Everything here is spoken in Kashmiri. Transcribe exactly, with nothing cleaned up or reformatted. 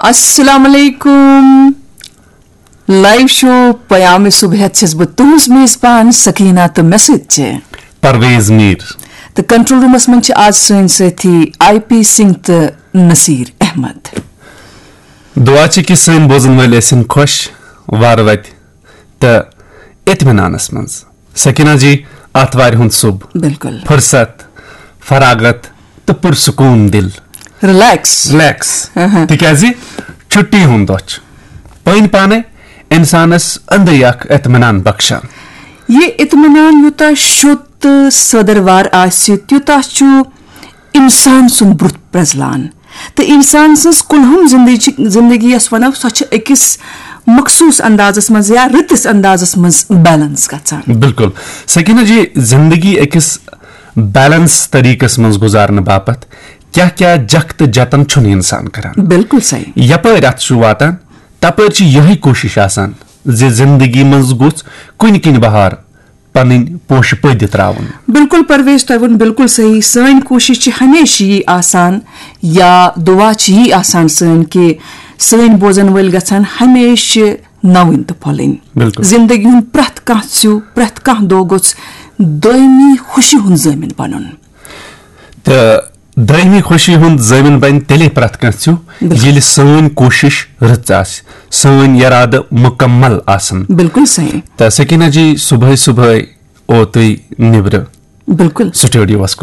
السلام علیکم۔ لائیو شو پیام صبح ہیتھ چھس بہٕ تُہنٛز میزبان سکینہ تہٕ مےٚ سۭتۍ چھِ پرویز میر۔ تہٕ کنٹرول رومس منٛز چھِ آز سٲنۍ سٲتھی آئی پی سنگھ تہٕ نصیر احمد۔ دعا چھِ کہِ سٲنۍ بوزن وٲلۍ ٲسِن خۄش، وارٕ وتہِ تہٕ اطمینانس منٛز۔ سکینہ جی، آتھوارِ ہُنٛد صُبح، بِلکُل۔ فرصت، فراغت تہٕ پُرسکوٗن دِل۔ ریلیکس۔ ریلیکس۔ اہم۔ تِکیازِ چھُٹی ہُنٛد دۄہ چھُ۔ پٔنۍ پانے انسانس أنٛدری اکھ اطمینان بخشان۔ یہِ اطمینان یوٗتاہ شوٚد تہٕ سٲدٕروار آسہِ، تیوٗتاہ چھُ انسان سُنٛد برٛونٛہہ پرٛزلان۔ تہٕ انسان سٕنٛز کُلہُم زندگی، زندگی یۄس ونو، سۄ چھِ أکِس مخصوٗص اندازس منٛز یا رٕتِس اندازس منٛز بیلنس گژھان۔ بِلکُل۔ سکینہ جی، زندگی أکِس بیلنس طریقس منٛز گُزارنہٕ باپتھ کیٛاہ کیٛاہ جکھ تہٕ جتن چھُنہٕ انسان کران؟ بِلکُل صحیح۔ یپٲرۍ اتھ چھُ واتان، تپٲرۍ چھِ یِہے کوٗشش آسان زِ زندگی منٛز گوٚژھ کُنہِ کِنۍ بہار پنٕنۍ پوشہٕ پٲدٕ تراوُن۔ بِلکُل پرویز، تۄہہِ ووٚن بِلکُل صحیح۔ سٲنۍ کوٗشش چھِ ہمیشہِ یی آسان، یا دُعا چھِ یی آسان سٲنۍ، کہِ سٲنۍ بوزن وٲلۍ گژھن ہمیشہِ نوٕنۍ تہٕ پھۄلٕنۍ۔ بِلکُل۔ زندگی ہُنٛد پرٛٮ۪تھ کانٛہہ ژیوٗ، پرٛٮ۪تھ کانٛہہ دۄہ گوٚژھ دٲیمی خوشی ہُنٛد ضٲمِن بنُن۔ تہٕ دٲیمی خوشی ہُنٛد ضٲمِن بنہِ تیٚلے پرٛٮ۪تھ کانٛہہ ژیوٗ، بِلکُل۔ ییٚلہِ سٲنۍ کوٗشش رٕژ آسہِ، سٲنۍ یرادٕ مُکمل آسن۔ بِلکُل صحیح۔ تہٕ سکینہ جی، صبحٲے صبحٲے او تُہۍ نیبرٕ بِلکُل۔ سٹوڈیوس کُن۔